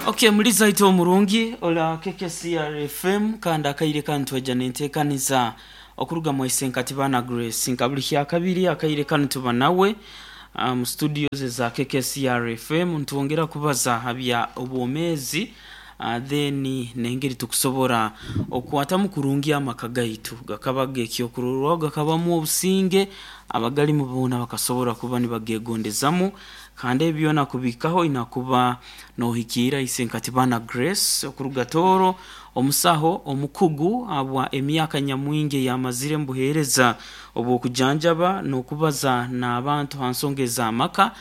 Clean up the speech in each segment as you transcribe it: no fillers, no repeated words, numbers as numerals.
Okay, muliza itwe omurungi ola KKCR FM kandi akaire kanu twaija nenteekaniza okuruga mu Isenkati Baana Grace nka buli kyakabiri akaire kanu tuba nawe mu studios eza KKCR FM nitwongera kubaza ha bya obwomeezi then n'engeri tukusobora okukwatamu kurungi amaka gaitu gakaba g'ekyokurorwaho gakabamu obusinge abagalimu boona bakasobora kuba nibagegondezamu kandi ebi byona kubihikaho oina kuba nohikiira Isenkati Baana Grace okuruga Tooro omusaho omukugu habwa emyaka nyamwingi eyamazire mubuheereza obw'okujanjaba n'okubaza n'abantu ha nsonga ez'amaka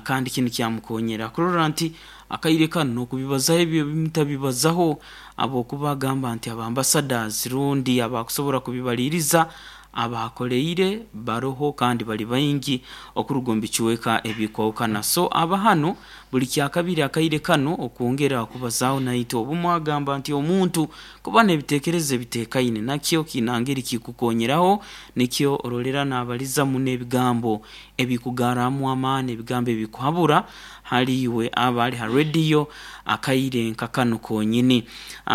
kandi kinu kyamukonyera kurora nti akaire kanu n'okubibazaho ebyo ebimutabibazaho habwokuba agamba nti aba ambassadors rundi abakusobora kubibaliiriza abakoleire baroho kandi bali baingi okuruga omu bicweka ebikwahukana. So aba hanu buli kyakabiri akaire kanu okwongera kubazaaho naitwe. Obumu agamba nti omuntu kuba n'ebitekerezo ebitekaine nakyo kiina ngeri kikukonyeraho nikyo orolera nabaliza muno ebigambo ebikugarramu amaani, ebigambo ebikuhabura hali iwe aba ali ha rediyo akaire nka kanu konyini.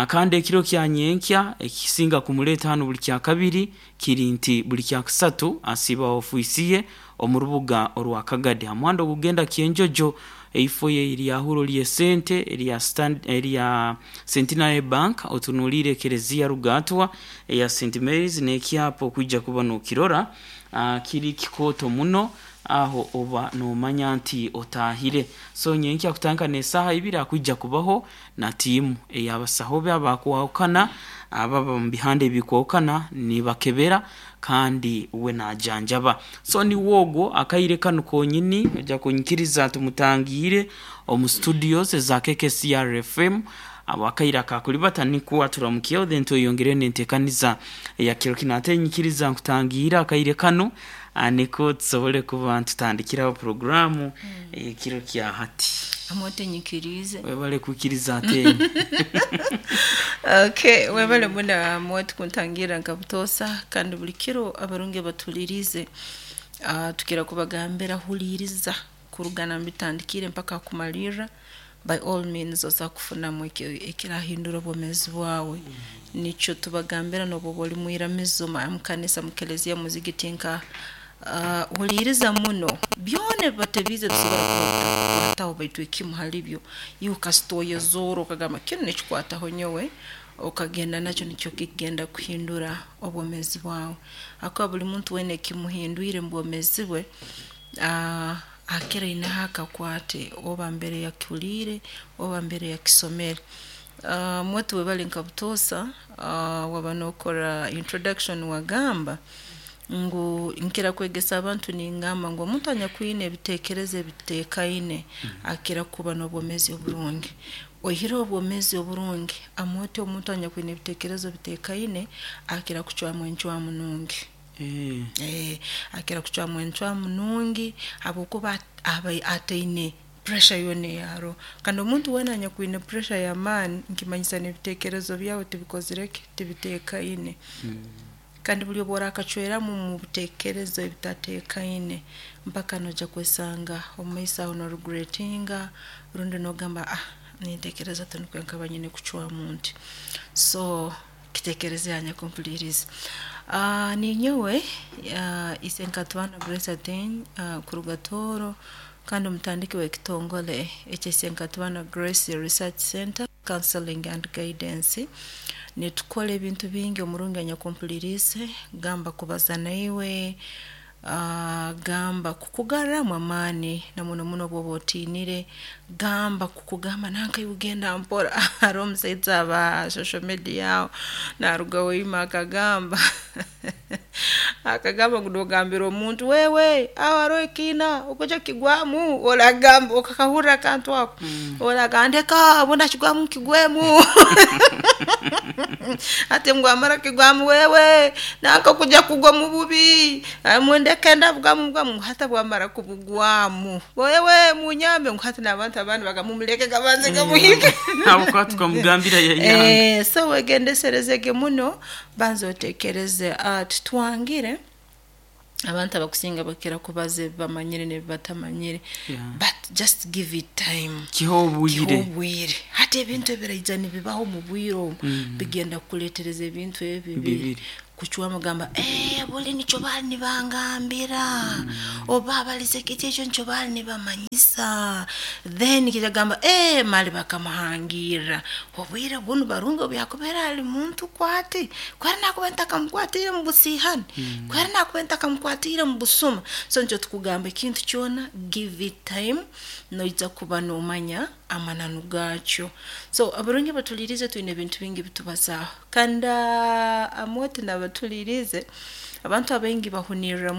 Kandi ekiro kya nyenkya ekisinga kumuleeta hanu buli kyakabiri kiri nti buli kyakusatu asiiba ofiisi ye omu rubuga orwa Kagadi ha muhanda ogukugenda Kyenjojo eifo ye eryahuro ly'esente erya erya Centenary Bank otunuliire ekereziya Rugaatwa eya St Mary's n'ekyapa okwija kuba nokirora kiri kikooto muno aho oba nomanya nti otaahire. So nyenkya kutandika n'esaaha ibiri akwija kubaho na tiimu ey'abasaho be abakwahukana ababa omu bihanda ebikwahukana nibakebera kandi uwe najanjaba. So niwe ogwo akaire kanu konyini oija kunyikiriza tumutangiire omu studios eza KKCR FM habw'akaire akakulibata nikwo aturamukyeho then tweyongereyo n'entekaniza eya kiro kinu. Ate nyikiriza nkutangiire akaire kanu nikwo tusobole kuba nitutandikiraho puroguraamu ey'ekiro kya hati. Amote nyikiriize. Webale kwikiriza Ateenyi. Okay, webale muno Amote kuntangirra nka butoosa kandi buli kiro abarungi abatuhuliriize tukira kubagambira huliiriza kuruga nambitandikire mpaka hakumalirra by all means osobola kufunamu ekirahindura obwomeezi bwawe. Nikyo tubagambira nobu oba oli mwiramizo mukanisa, mukelezia, muzigiti nka huliiriza muno byona ebibatebiize bisobora kuba bitakukwataho baitu ekimu hali byo iwe kasita oyezoora okagamba kinu nikikwataho nyowe okagenda nakyo nikyo kikugenda kuhindura obwomeezi bwawe. Habwokuba buli muntu weena ekimuhindwire omu bwomeezi bwe akira aineho akakwate oba mbere yakihuliire oba mbere yakisomere. Mwoti webale nka butoosa waba nokora introduction wagamba ngu nkira kwegesa abantu ningamba ngu omuntu anyakwine ebitekerezo ebitekaine akira kuba n'obwomeezi oburungi. Oihireho obwomeezi oburungi, amooti omuntu anyakwine ebitekerezo bitekaine akira kucwamu encwamu nungi. Akira kucwamu encwamu nungi habwokuba aba ataine pressure yoona eyaroho. Kandi omuntu weena anyakwine pressure y'amaani nikimanyisa n'ebitekerezo byawe tibikozire ki, tibitekaine. Kandi buli obu orakacweramu omu bitekerezo ebitatekaine mpaka noija kwesanga omu maiso aho noregretinga rundi nogamba nintekereza tinukwo nkaba nyine kucwamu nti. So kitekereze anyakumpuliriize. Ninyowe Isenkatwana Grace Ateenyi kuruga Tooro kandi omutandiki w'ekitongole ekya Isenkatwana Grace Research Center Counseling and Guidance. Nitukora ebintu bingi omurungi anyakumpuliriize, gamba kubaza naiwe, gamba kukugarramu amaani na muno muno obu oba otiinire, gamba kukugamba nanka iwe genda mpora. Haroho omusaija aba ha social media aho naruga Hoima akagamba akagamba ngu nogambira omuntu wewe aho haroho ekiina okwija kukigwamu oragamba okakahurra akantu ako oragamba ndeka obu ndakigwamu nkigwemu hati ngu wamara kukigwamu wewe nanka okujya kugwa omu bubi mundeke ndabugwamu bugwamu ngu hati bwamara kubugwamu wewe munyambe ngu hati n'abantu abandi bagamba mumuleke gabanze gamuhike. Habwokuba tukamugambira yayanga. So wegendeserezege muno banza otekereze titwangire abantu abakusinga bakira kubaza ebi bamanyire n'ebi batamanyire but just give it time. Kihe obwire. Kihe obwire. Hati Hati ebintu ebiraija nibibaho mu bwire obu bigenda kukuleetereza ebintu ebi bibiri Bibiri. Kucwamu gamba, buli nikyo baali nibangambira, oba balize kiti ekyo nikyo baali nibamanyisa. Then kijagamba, mali bakamuhangirra obwire bunu. Barungi obu yakubeera ali muntu kwati, kwera nakuba ntakamukwatiire mu busiihani, kwera nakuba ntakamukwatiire mu busuma. So nikyo tukugamba, ekintu kyona give it time, noija kuba nomanya amananu gaakyo. So abarungi batuliirize, twine ebintu bingi bitubazaaho, kandi amwete nabatuliirize abantu abaingi bahunirra.